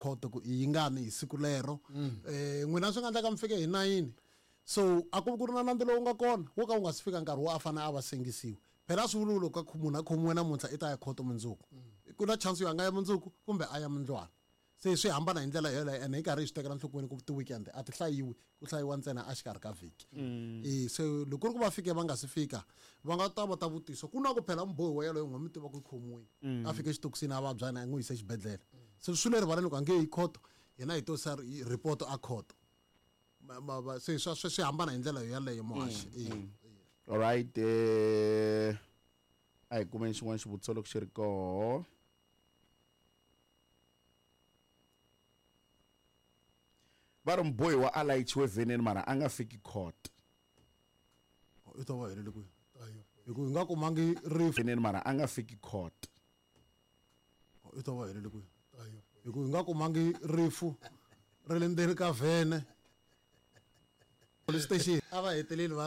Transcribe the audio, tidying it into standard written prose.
Khoto ku i yingani hi siku lero. N'wina swi nga endleka mi fike hi 9, so a ku vi ku ri na nandzu lowu nga kona wo ka wu nga si fika nkarhi wo a fanele a va sengisiwa. Phela a swi vuli loko munhu a khomiwe namuntlha i ta ya khoto mundzuku. Ku na chance yo a nga ya mundzuku kumbe a ya mundlwana. Se swi hambana hi ndlela yoleyo, ene hi karhi hi swi tekela nhlokweni ku ti-weekend a ti hlayiwi, ku hlayiwa ntsena a xikarhi ka vhiki. Se loko ku ri ku va fike va nga si fika, va nga ta va ta vutisa ku na ku phela mubohiwa yaloye n'we mi tiva ku i khomiwile, a fike exitokisini a vabya na n'wi yise exibedhlele. Se swi le rivaleni ku a nge yi khoto, hina hi to sa report a khoto. Se swi hambana hi ndlela yoyaleyo muhaxi. All right, a hi kumeni xin'wana xivutiso loko xi ri koho. Va ri mubohiwa a layichiwe vheneni mara a nga fiki court. I ta va helele kwihi? Hi ku hi nga kumangi rifu. Vheneni mara a nga fiki court. I ta va helele kwihi? Hi ku hi nga kumangi rifu ri le ndzeni ka vhene. Police station a va heteleli va